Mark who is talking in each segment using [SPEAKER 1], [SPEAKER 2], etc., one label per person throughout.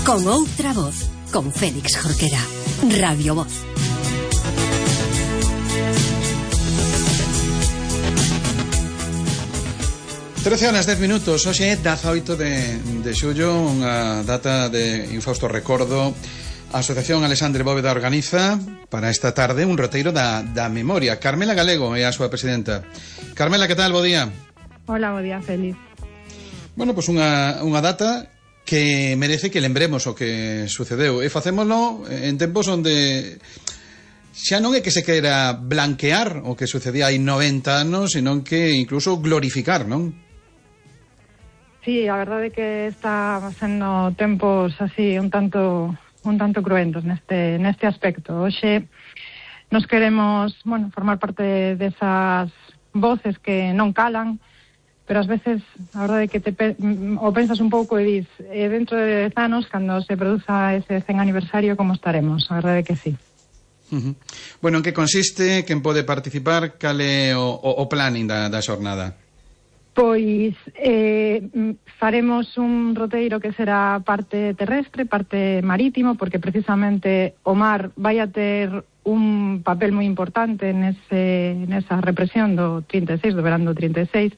[SPEAKER 1] Con outra voz, con Félix Jorquera. Radio Voz.
[SPEAKER 2] Trece horas 10 minutos. Hoxe é 18 de xullo, unha data de infausto recordo. A Asociación Alexandre Bóveda organiza para esta tarde un roteiro da memoria. Carmela Galego é a súa presidenta. Carmela, que tal? Bo día.
[SPEAKER 3] Hola, bo día, Félix.
[SPEAKER 2] Bueno, pois unha data que merece que lembremos o que sucedeu, e facémoslo en tempos onde xa non é que se queira blanquear o que sucedía hai 90 anos, senón que incluso glorificar, non?
[SPEAKER 3] Sí, a verdade é que está sendo tempos así un tanto cruentos neste aspecto. Hoxe nos queremos, formar parte desas voces que non calan, pero ás veces a verdade é que o pensas un pouco e dis, dentro de 10 anos, cando se produza ese 100 aniversario, como estaremos? A verdade é que sí.
[SPEAKER 2] Bueno, en que consiste? Quen pode participar? Cal é o planning da xornada?
[SPEAKER 3] Pois faremos un roteiro que será parte terrestre, parte marítimo, porque precisamente o mar vai a ter un papel moi importante nesa represión do 36, do verán do 36.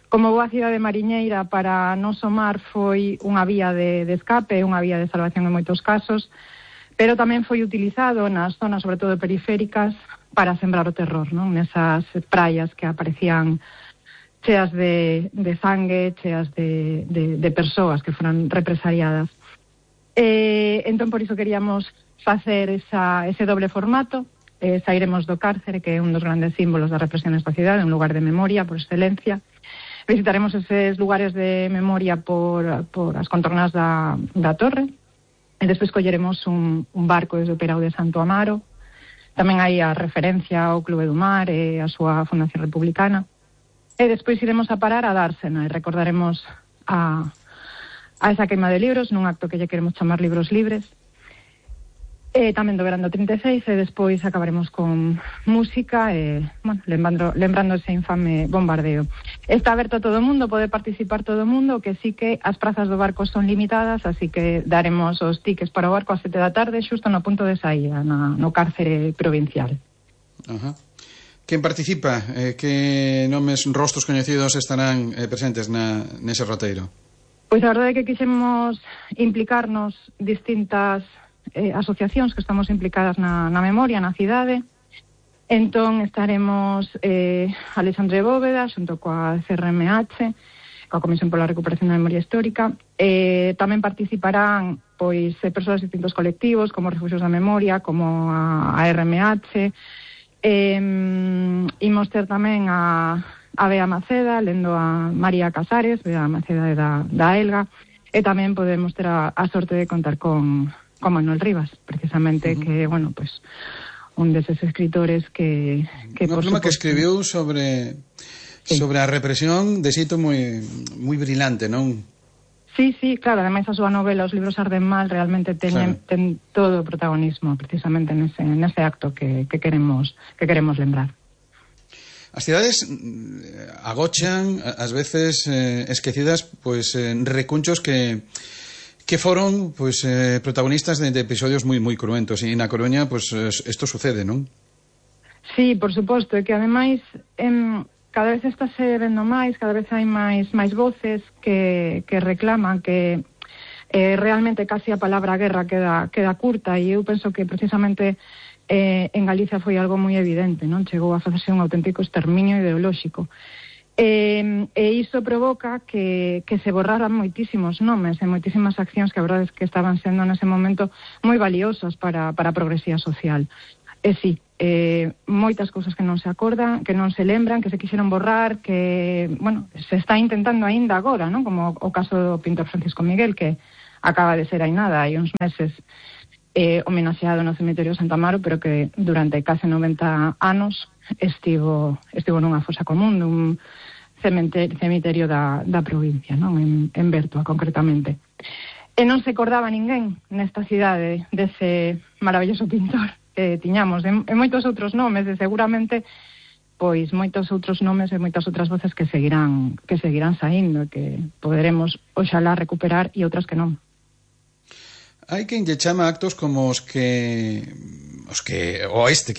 [SPEAKER 3] Como boa cidade mariñeira, para nos o mar foi unha vía de escape, unha vía de salvación en moitos casos, pero tamén foi utilizado nas zonas, sobre todo periféricas, para sembrar o terror, non? Nesas praias que aparecían cheas de sangue, cheas de persoas que foran represaliadas. Entón, por iso queríamos facer ese doble formato. Sairemos do cárcere, que é un dos grandes símbolos da represión nesta cidade, un lugar de memoria por excelencia. Visitaremos eses lugares de memoria por as contornas da torre, e despois colleremos un barco desde o Peirao de Santo Amaro. Tamén hai a referencia ao Clube do Mar e a súa Fundación Republicana. E despois iremos a parar a Dársena e recordaremos a esa queima de libros nun acto que lle queremos chamar Libros Libres. E tamén do verán do 36, e despois acabaremos con música e, lembrando ese infame bombardeo. Está aberto a todo o mundo, pode participar todo o mundo, que sí que as prazas do barco son limitadas, así que daremos os tickets para o barco a 7 da tarde, xusto no punto de saída, no cárcere provincial.
[SPEAKER 2] Ajá. Quen participa? Que nomes, rostros coñecidos estarán presentes nese roteiro?
[SPEAKER 3] Pois a verdade é que quixemos implicarnos distintas asociacións que estamos implicadas na memoria, na cidade. Entón estaremos Alexandre Bóveda xunto coa CRMH, coa Comisión pola Recuperación da Memoria Histórica. Tamén participarán persoas de distintos colectivos, como Refugios da Memoria, como a RMH. Imos ter tamén a Bea Maceda, lendo a María Casares, Bea Maceda da Elga, e tamén podemos ter a sorte de contar con Manuel Rivas, precisamente, que, un deses escritores que
[SPEAKER 2] unha pluma que escribiu sobre a represión de xeito moi brilante, non?
[SPEAKER 3] Sí, claro, ademais a súa novela Os libros arden mal realmente ten todo o protagonismo precisamente nese acto que queremos lembrar.
[SPEAKER 2] As cidades agochan, ás veces esquecidas, recunchos que foron protagonistas de episodios moi cruentos, e na Coruña isto sucede, non?
[SPEAKER 3] Sí, por suposto, e que ademais cada vez estáse vendo máis, cada vez hai máis voces que reclaman que realmente casi a palabra guerra queda curta, e eu penso que precisamente en Galicia foi algo moi evidente, non? Chegou a facerse un auténtico exterminio ideolóxico. E iso provoca que se borraran moitísimos nomes e moitísimas accións que a verdade é que estaban sendo nese momento moi valiosas para a progresía social. E sí, moitas cousas que non se acordan, que non se lembran, que se quixeron borrar, que, se está intentando aínda agora, non? Como o caso do pintor Francisco Miguel, que acaba de ser hai nada, hai uns meses homenaxeado no cemiterio de Santa Amaro, pero que durante case 90 anos estivo nunha fosa común, nun cemiterio da provincia, non? En Bertua, concretamente. E non se acordaba ninguén nesta cidade dese maravilloso pintor que tiñamos, e moitos outros nomes, e seguramente moitos outros nomes e moitas outras voces que seguirán saindo, que poderemos oxalá recuperar, e outras que non.
[SPEAKER 2] Hai quen lle chama actos como os que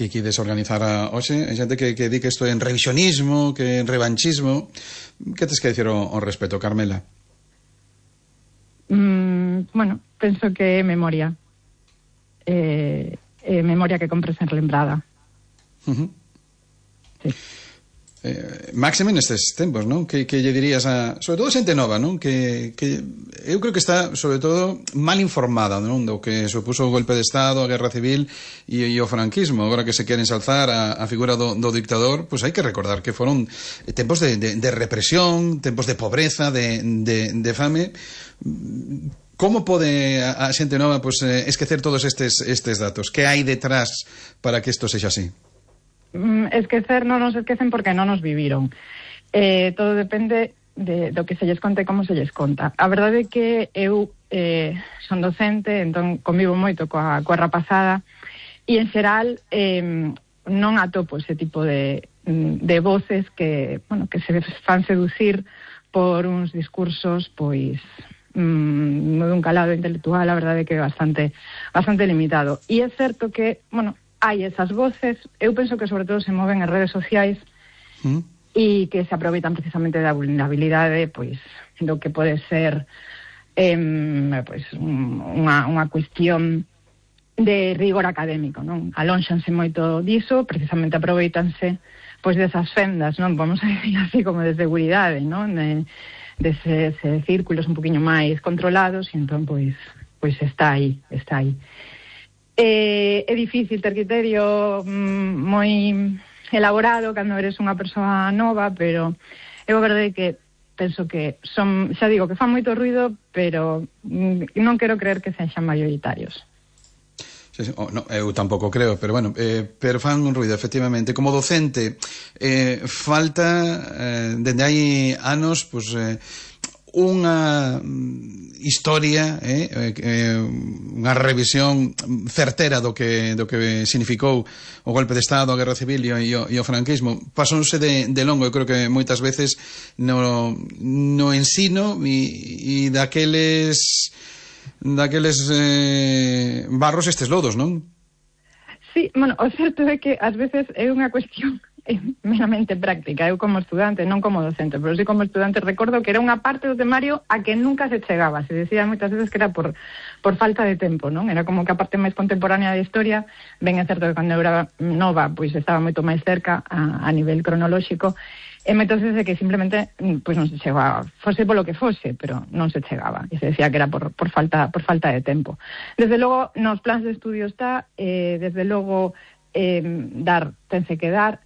[SPEAKER 2] quides organizar hoxe, hai xente que di que isto é en revisionismo, que en revanchismo. Que tes que dicir ao respecto, Carmela?
[SPEAKER 3] Bueno, penso que é memoria. Memoria que compre sen lembrada. Sí.
[SPEAKER 2] Máxime nestes tempos, non? Que lle dirías sobre todo xente nova, non? Que eu creo que está, sobre todo, mal informada, non? Do que supuso o golpe de Estado, a Guerra Civil e o franquismo. Agora que se queren ensalzar a figura do dictador, pois hai que recordar que foron tempos de represión, tempos de pobreza, de fame. Como pode a xente nova esquecer todos estes datos? Que hai detrás para que isto sexa así?
[SPEAKER 3] Esquecer non nos esquecen porque non nos viviron. Todo depende do que se lles conta e como se lles conta. A verdade é que eu son docente, entón convivo moito coa rapazada e en xeral non atopo ese tipo de voces que se fan seducir por uns discursos pois dun calado intelectual, a verdade é que é bastante limitado. E é certo que, hai esas voces, eu penso que sobre todo se moven en redes sociais e que se aproveitan precisamente da vulnerabilidade pois do que pode ser unha cuestión de rigor académico, non? Alónxanse moito diso, precisamente aproveitanse pois desas fendas, non? Vamos a decir así como de seguridade, non? Deses círculos un poquinho máis controlados e entón pois está aí. É difícil ter criterio moi elaborado cando eres unha persoa nova, pero é verdade que penso que xa digo que fan moito ruido, pero non quero creer que sexan maioritarios.
[SPEAKER 2] Sí. No, eu tampouco creo, pero pero fan un ruido, efectivamente. Como docente, falta dende hai anos unha historia, unha revisión certera do que significou o golpe de Estado, a Guerra Civil e o franquismo. Pasónse de longo, eu creo que moitas veces no ensino e daqueles barros estes lodos, non?
[SPEAKER 3] Sí, o certo é que ás veces é unha cuestión meramente práctica. Eu como estudante, non como docente, pero sí como estudante recordo que era unha parte do temario a que nunca se chegaba. Se decía moitas veces que era por falta de tempo, non? Era como que a parte máis contemporánea da historia, ben é certo que cando eu era nova, pois estaba moito máis cerca a nivel cronolóxico, e moitas veces que simplemente pois non se chegaba, fose polo que fose, pero non se chegaba, e se decía que era por falta de tempo. Desde logo, nos plans de estudio está, desde logo tense que dar.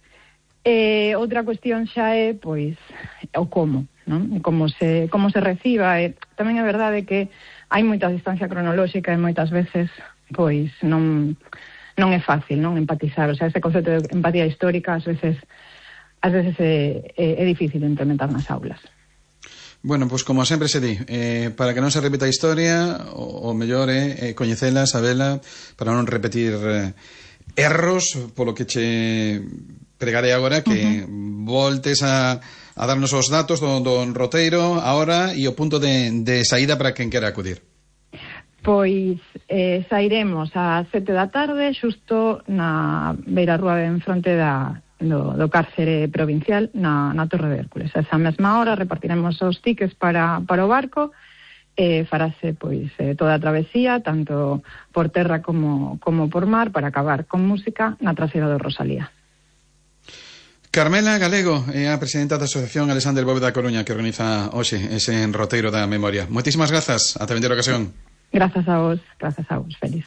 [SPEAKER 3] Outra cuestión xa é pois o como, non? Como se reciba. Tamén é verdade que hai moita distancia cronolóxica e moitas veces pois non é fácil, non, empatizar. O sea, ese concepto de empatía histórica ás veces é difícil de implementar nas aulas.
[SPEAKER 2] Bueno, pois como sempre se di, para que non se repita a historia, o mellor é coñecela, sabela, para non repetir erros, polo que che pregarei agora que voltes a darnos os datos do roteiro agora e o punto de saída para quen quera acudir.
[SPEAKER 3] Pois sairemos ás 7 da tarde xusto na beirarrúa en fronte do cárcere provincial na Torre de Hércules. A esa mesma hora repartiremos os tickets para o barco e farase pois toda a travesía, tanto por terra como por mar, para acabar con música na traseira do Rosalía.
[SPEAKER 2] Carmela Galego é a presidenta da Asociación Alexandre Bóveda Coruña, que organiza hoxe ese roteiro da memoria. Moitísimas grazas, ata a vindeira ocasión.
[SPEAKER 3] Grazas a vos, feliz.